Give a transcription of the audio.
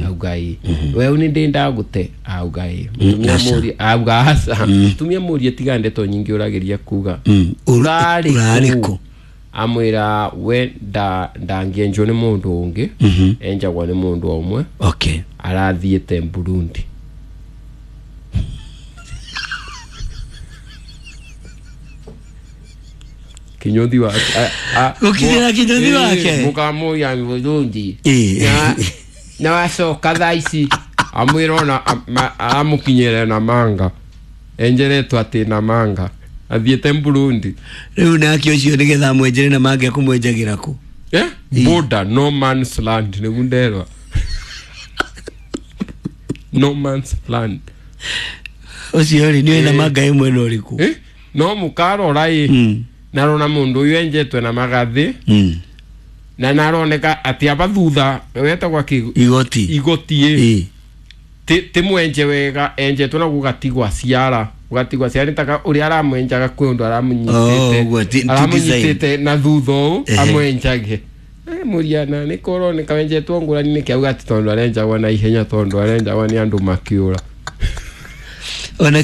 Auga ĩ weũ nĩ ndĩ ndagũte. Auga ĩ. Mũtumia mũrie, auga aca. Mũtumia mũrie, tiga ndeto nyingĩ ũrageria kuga. Ũrarĩ Ũrarĩ kũ? kũ? Amwĩra we ndangĩenjwo nĩ mũndũ ũngĩ, enjagwo nĩ mũndũ o ũmwe. Arathiĩte Burundi. Kinyothi wake. Gũkinyĩra kinyothi wake? Mũkamũria Burundi na wacoka thaa ici, amwĩra ona amũkinyĩre na manga enjeretwo atĩ na manga athiĩte Burundi. Rĩu nake ũcio nĩgetha amwenjere na mangĩ akũmwenjagĩra kũ? Eh? Border, no man's land, nĩguo nderwa no man's land. Ũcio rĩ nĩwe na manga ĩ mwena ũrĩkũ? Eh? No mũkarora ĩ, narona mũndũ ũyũ enjetwe na magathĩ na naroneka atĩ aba thutha wetagwa kĩ? Igoti. Igoti ĩ. Ti mwenje wega, enjetwe na gũgatigwa ciara, gũgatigwa ciara nĩ taka ũrĩa aramwenjaga kwĩ ũndũ Oh, aramũnyitĩte. ũguo, ti Aramũnyitĩte na thutha ũũ. Amwenjage. Mũriana nĩ kũroneka wenjetwo ngũrani nĩkĩ? Auga atĩ tondũ arenjagwo na ihenya, tondũ arenjagwo nĩ andũ makĩũra. Ona.